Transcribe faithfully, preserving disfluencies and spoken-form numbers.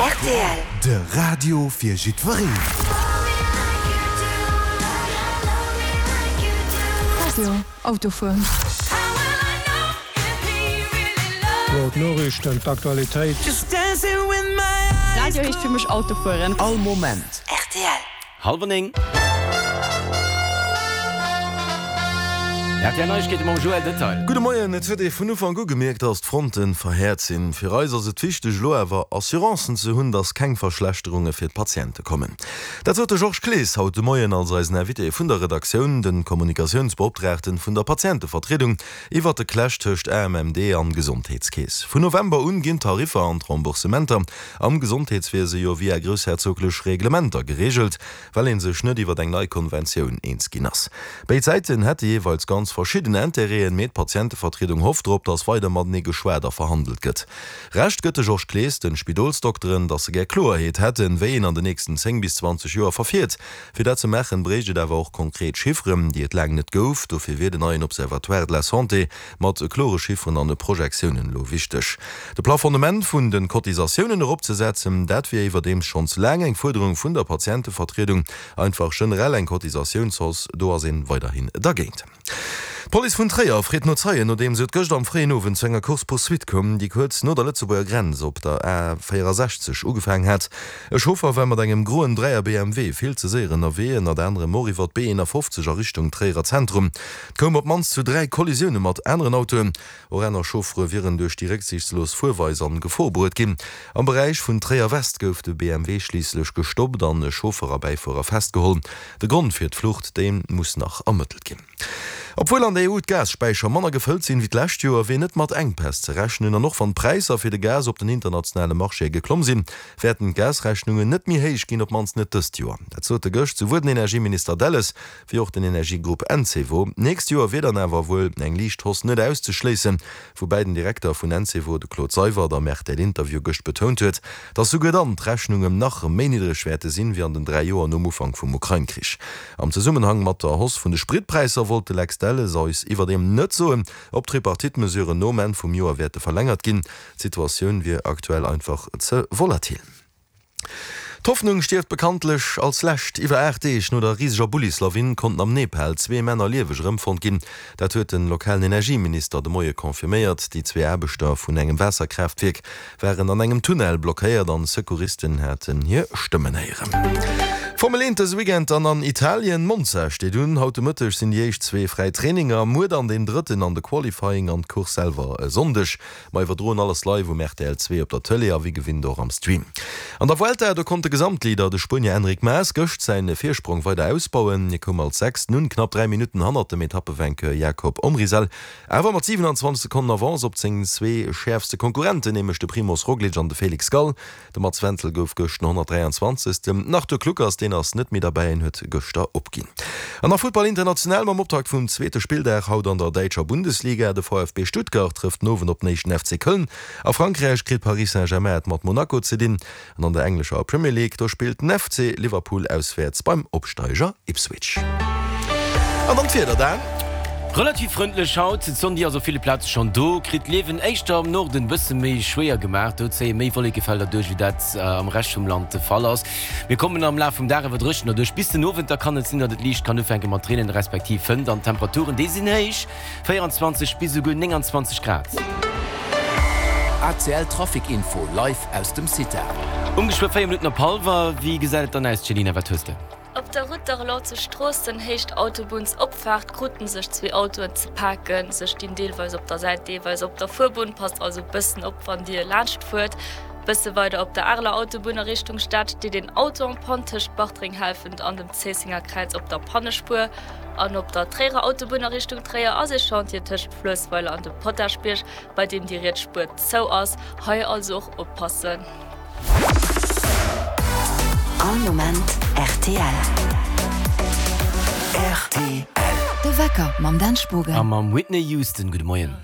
Rtl. De Radio fir jiddwereen. Radio, Autofueren. Jo, d'Noriichten, d'Aktualitéit. Radio heescht fir mech Autofueren. All Moment. Rtl. Hallwer néng. R T L Neiegkeete mam Joël Detail. Gudde Moien, Et huet ee vun Ufank u gemierkt, datt d'Fronten verhäert sinn. Fir eis ass et wichteg, elo awer Assurancen ze hunn, datt keng Verschlechterunge fir d'Patiente kommen. Dat sot de Georges Clees haut de Moien als eisen Invité vun der Redaktioun, de Kommunikatiounsbeoptraagten vun der Patientevertriedung, iwwert de Clash tëscht A M M D an Gesondheetskeess. Vun November un ginn d'Tariffer an d'Remboursementer am Gesondheetswiese jo via groussherzoglech Reglementer gereegelt, well ee sech net iwwert eng nei Konventioun eens ginn ass. Béid Säiten hätte jeeweils ganz verschidden Intérêten, mee d'Patientevertriedung hofft drop, datt weider matenee geschwat a verhandelt gëtt. Recht gëtt de Georges Clees de Spidolsdokteren, datt se gär Kloerheet hätten, wéi een an den nächsten zéng bis zwanzeg Joer verfiert. Fir dat ze maachen, bréicht et awer och konkret Chifferen, déi et laang net gouf. Dofir wier den neien Observatoire de la Santé mat klore Chifferen an Projektiounen elo wichteg. De Plafonnement vun de Cotisatiounen eropzesetzen, dat wier iwwerdeems schonns laang eng Fuerderung vun der Patientevertriedung. Einfach generell eng Cotisatiounshausse, do ass een weiderhin dergéint. D'Police vun Tréier freet no Zeien, nodeems et gëscht am fréien Owend zu enger Course-poursuite koum, déi kuerz no der Lëtzebuerger Grenz op der A véierasechzeg ugefaangen hat. E Chauffer war mat engem groen Dräier B M W vill ze séier ënnerwee, ënnert anerem och iwwer d'B eenafofzeg a Richtung Tréierer Zentrum. Et koum op d'mannst zu dräi Kollisioune mat aneren Autoen. Och aner Chauffere wieren duerch déi récksiichtslos Fuerweis an Gefor bruet ginn. Am Beräich vun Tréier-West gouf de B M W schliisslech gestoppt an e Chauffer a Bäifuerer festgeholl. De Grond fir d'Flucht, dee muss nach ermëttelt ginn. Obwuel an der E U d'Gasspäicher manner gefëllt sinn wéi d'lescht Joer, wier net mat Enkpäss ze rechnen. An och wann d'Präisser fir de Gas op den internationale Marchéë geklomm sinn, wäerten d'Gasrechnungen net méi héich ginn, op d'mannst net dëst Joer. Dat sote gëscht souwuel den Energieminister Delles wéi och den Energiegrupp Encevo. D'nächst Joer wier dann awer wuel eng liicht Hausse net auszeschléissen, woubäi den Direkter vun Encevo, de Claude Seywert, am R T L-Interview gëscht betount huet, datt souguer dann d'Rechnungen nach méi niddreg wäerte sinn, wéi an den dräi Joer nom Ufank vum Ukrain-Krich. Am Zesummenhang mat der Hausse vun de Spritpräisser wollt de Lex Delles eis iwwerdeem net soen, ob d'Tripartite-Mesuren nom Enn vum Joer wäerte verlängert ginn. D'Situatioun wier aktuell einfach ze volatil. D'Hoffnung stierft bekanntlech als Lescht. Iwwer aacht Deeg no der riseger Bullislawin konnten am Nepal zwee Männer lieweg erëmfonnt ginn. Dat huet den lokalen Energieminister de Moie confirméiert. Déi zwee Aarbechter vun engem Waasserkraaftwierk waren an engem Tunnel blockéiert an Secouristen haten hir Stëmmen héieren. Formel eent dëse Weekend dann an Italien. Monza steet un. Haut de Mëtteg sinn déi éischt zwee fräi Traininger, muer dann deen drëtten an de Qualifying an d'Course selwer e Sonndeg. Mer iwwerdroen alles live um R T L zwee op der Tëlee a wéi gewinnt och am Stream. An der Vuelta, do konnt de Gesamtleader, de Spuenier Enric Mas, gëscht säin Virsprong weider ausbauen. Hie koum als Sechsten un, knapp dräi Minutten hannert dem Etappevainqueur Jakob Omrisel, awer mat siwenanzwanzeg Sekonnen Avance op seng zwee schäerfste Konkurrenten, nämlech de Primoz Roglic an de Felix Gall. De Mats Wenzel gouf gëscht den honnertdräianzwanzegsten. Den Arthur Kluckers, deen ass net méi derbäi, en huet gëschter opginn. An nach Futtball international mam Optakt vum zweete Spilldag haut an der däitscher Bundesliga. De V F B Stuttgart trëfft den Owend op den éischten F C Köln. A Frankräich kritt Paris Saint-Germain et mat Monaco ze dinn. An an der englescher Premier League, do spillt den F C Liverpool auswäerts beim Opsteiger Ipswich. An dann d'Wieder, Dan. Relativ frëndlech haut, d'Sonn déi ass op ville Plaze schonn do, kritt d'Liewen éischter am Norden bësse méi schwéier gemaach. Do zéie méi Wollekefelder duerch, wéi dat am Rescht vum Land de Fall ass. Mir kommen am Laf vum Dag awer dréchener duerch bis den Owend, da kann et sinn, datt et liicht kann ufänke mat reenen respektiv Fënnt an d'Temperaturen déi sinn héich, véieranzwanzeg bis esouguer nénganzwanzeg Grad. A C L Trafic Info live aus dem CITA. Um geschwë véier Minutten op hallwer. Wéi gesäit et dann aus, Céline, wat hues de? Op der Route d'Arlon zu Stroossen, Héicht Autobunnsopfaart, kruten sech zwee Autoen ze paken. Se stinn deelweis op der Säit, deelweis op der Fuerbunn. Passt also bëssen op, wann Dir laanscht fuert. Bësse weider op der Areler Autobunn a Richtung Stad steet een Auto en panne tëscht Bartreng-Helfent an dem Zéissenger Kräiz op der Pannespuer. An op der Tréierer Autobunn a Richtung Tréier ass ee Chantier tëscht Fluessweiler an dem Potaschbierg, bei deem déi riets Spuer zou ass. Hei also och oppassen. All Moment R T L. R T L. De Wecker mam Dan Spogen. A mam Whitney Houston. Gudde Moien.